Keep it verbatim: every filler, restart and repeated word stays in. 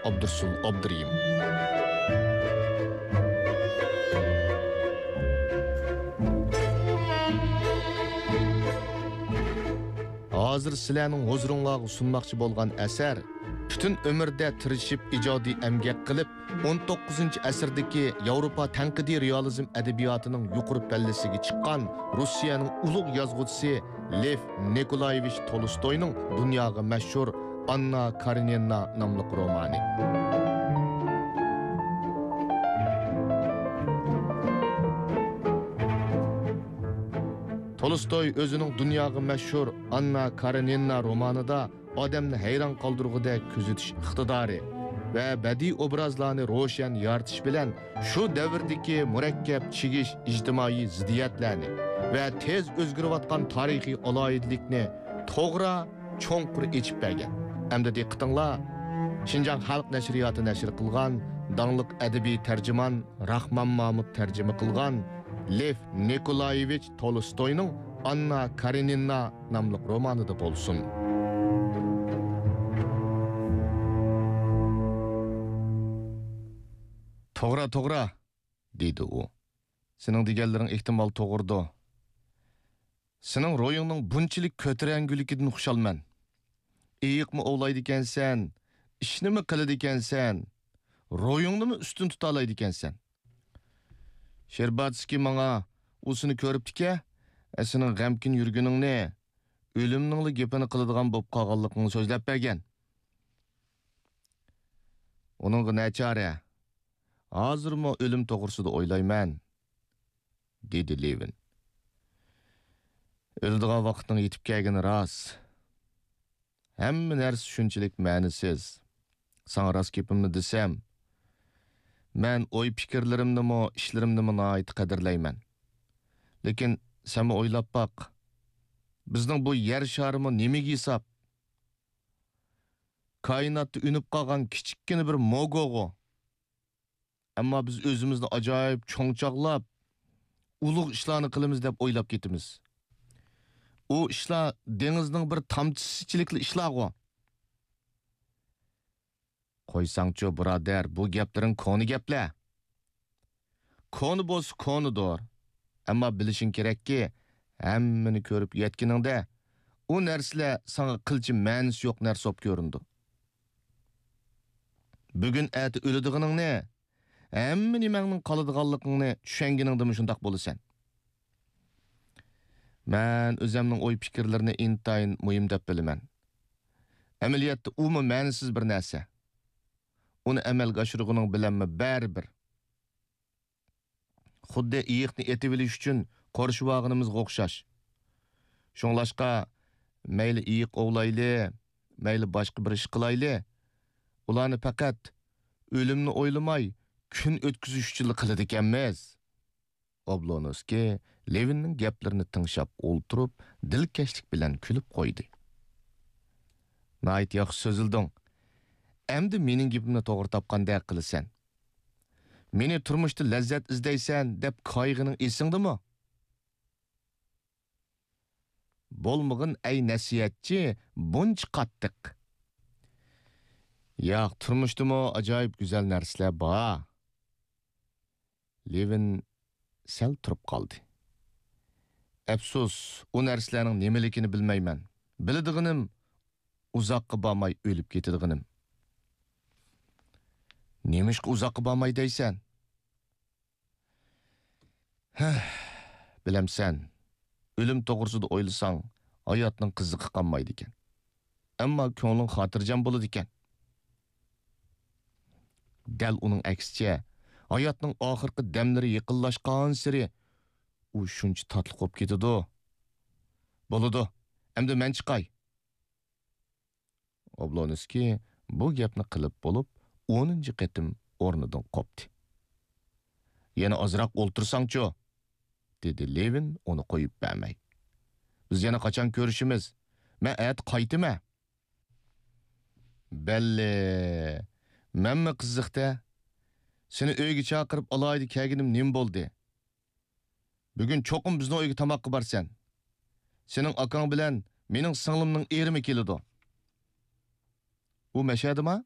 ئابدۇرۇسۇل ئابدۇرېھىم. ھازىر سىلەرنىڭ ھۇزۇرۇڭلارغا سۇنماقچى بولغان ئەسەر، پۈتۈن ئۆمۈردە تىرىشىپ ئىجادىي ئەمگەك قىلىپ، ئون توققۇزىنچى ئەسىردىكى ياۋروپا تەنقىدىي رېئالىزم ئەدەبىياتىنىڭ يۇقىرى پەللىسىگە چىققان روسىيەنىڭ ئۇلۇغ يازغۇچىسى لېف نىكولايېۋىچ تولستوينىڭ دۇنياغا مەشھۇر ئاننا كارېنىنا ناملىق رومانى. تولستوي ئۆزىنىڭ دۇنياغا مەشھۇر ئاننا كارېنىنا رومانىدا ئادەمنى ھەيران قالدۇرغۇدەك كۆزىتىش ئىقتىدارى ۋە بەدىئىي ئوبرازلارنى روشەن يارىتىش بىلەن شۇ دەۋردىكى مۇرەككەپ چىگىش ئىجتىمائىي زىددىيەتلەرنى ۋە تېز ئۆزگىرىۋاتقان تارىخىي ئالاھىدىلىكنى توغرا، چوڭقۇر ئېچىپ بەرگەن. ئەمدى دىققىتىڭلار شىنجاڭ خەلق نەشرىياتى نەشر قىلغان داڭلىق ئەدەبىي تەرجىمان راخمان مامۇت تەرجىمە قىلغان لېف نىكولايېۋىچ تولستوينىڭ ئاننا كارېنىنا ناملىق رومانىدا بولسۇن. توغرا، توغرا، دېدى ئۇ. سېنىڭ دېگەنلىرىڭ ئېھتىمال توغرىدۇ. سېنىڭ روھىڭنىڭ بۇنچىلىك كۆتۈرەڭگۈلۈكىدىن خۇشالمەن. ئېيىقمۇ ئوۋلايدىكەنسەن، ئىشنىمۇ قىلىدىكەنسەن، روھىڭنىمۇ ئۈستۈن تۇتالايدىكەنسەن. شېرباتسكىي ماڭا ئۇ سېنى كۆرۈپتىكەن، سېنىڭ غەمكىن يۈرگىنىڭنى، ئۆلۈمنىڭلا گېپىنى قىلىدىغان بولۇپ قالغانلىقىڭنى سۆزلەپ بەرگەن. ئۇنىڭغا نەچارە؟ ھازىرمۇ ئۆلۈم توغرىسىدا ئويلايمەن، دېدى لېۋىن. ئۆلىدىغان ۋاقىتنىڭ يېتىپ كەلگىنى راست. ھەممە نەرسە شۇنچىلىك مەنىسىز. ساڭا راست گېپىمنى دېسەم، مەن ئوي-پىكىرلىرىمنىمۇ، ئىشلىرىمنىمۇ ناھايىتى قەدىرلەيمەن. لېكىن سەنمۇ ئويلاپ باق. بىزنىڭ بۇ يەر شارىمۇ نېمىگە ھېساب؟ كائىناتتا ئۈنۈپ قالغان كىچىككىنە بىر موگوغۇ. ئەمما بىز ئۆزىمىزنى ئاجايىپ چوڭ چاغلاپ، ئۇلۇغ ئىشلارنى قىلىمىز دەپ ئويلاپ كېتىمىز. ئۇ ئىشلار دېڭىزنىڭ بىر تامچىسىچىلىكلا ئىشلارغۇ. قويساڭچۇ، بۇرادەر، بۇ گەپلىرىڭ كونا گەپلەر. كونا بولسا كونىدۇر. ئەمما بىلىشىڭ كېرەككى، ھەممىنى كۆرۈپ يەتكىنىڭدە، ئۇ نەرسىلەر ساڭا قىلچە مەنىسى يوق نەرسە بولۇپ كۆرۈنىدۇ. بۈگۈن ئەتە ئۆلىدىغىنىڭنى، ھەممە نېمەڭنىڭ قالىدىغانلىقىڭنى چۈشەنگىنىڭدىمۇ شۇنداق بولىسەن. مەن ئۆزەمنىڭ ئوي-پىكىرلىرىنى ئىنتايىن مۇھىم دەپ بىلىمەن. ئەمەلىيەتتە ئۇمۇ مەنىسىز بىر نەرسە. ئۇنى ئەمەلگە ئاشۇرغىنىڭ بىلەنمۇ بەرىبىر. خۇددى ئېيىقنى ئېتىۋېلىش ئۈچۈن قورشىۋالغىنىمىزغا ئوخشاش. شۇڭلاشقا، مەيلى ئېيىق ئوۋلايلى، مەيلى باشقا بىر ئىش قىلايلى، ئۇلارنى پەقەت ئۆلۈمنى ئويلىماي، كۈن ئۆتكۈزۈش ئۈچۈنلا قىلىدىكەنمىز. ئوبلونسكىي لېۋىننىڭ گەپلىرىنى تىڭشاپ ئولتۇرۇپ، دىلكەشلىك بىلەن كۈلۈپ قويدى. ناھايىتى ياخشى سۆزلىدىڭ. ئەمدى مېنىڭ گېپىمنى توغرا تاپقاندەك قىلىسەن. مېنى تۇرمۇشتا لەززەت ئىزدەيسەن دەپ كايىغىنىڭ ئېسىڭدىمۇ؟ بولمىغىن، ئەي نەسىھەتچى، بۇنچە قاتتىق. ياق، تۇرمۇشتىمۇ ئاجايىپ گۈزەل نەرسىلەر بار. لېۋىن سەل تۇرۇپ قالدى. ئەپسۇس، ئۇ نەرسىلەرنىڭ نېمىلىكىنى بىلمەيمەن. بىلىدىغىنىم، ئۇزاققا بارماي ئۆلۈپ كېتىدىغىنىم. نېمىشقا ئۇزاققا بارماي دەيسەن؟ ھە، بىلەمسەن، ئۆلۈم توغرىسىدا ئويلىساڭ، ھاياتنىڭ قىزىقى قالمايدىكەن. ئەمما كۆڭلۈڭ خاتىرجەم بولىدىكەن. دەل ئۇنىڭ ئەكسىچە، ھاياتنىڭ ئاخىرقى دەملىرى يېقىنلاشقانسېرى، ئۇ شۇنچە تاتلىق بولۇپ كېتىدۇ. بولىدۇ، ئەمدى مەن چىقاي. ئوبلونسكىي بۇ گەپنى قىلىپ بولۇپ، ئونىنچى قېتىم ئورنىدىن قوپتى. يەنە ئازراق ئولتۇرساڭچۇ؟ دېدى لېۋىن ئۇنى قويۇپ بەرمەي. بىز يەنە قاچان كۆرۈشىمىز؟ مەن ئەتە قايتىمەن. بەللى، مەنمۇ قىزىق-دە. سېنى ئۆيگە چاقىرىپ ئالاھىدە كەلگىنىم نېمە بولدى؟ بۈگۈن چوقۇم بىزنىڭ ئۆيگە تاماققا بارىسەن. سېنىڭ ئاكاڭ بىلەن مېنىڭ سىڭلىمنىڭ ئېرىمۇ كېلىدۇ. ئۇ مەشەدىما؟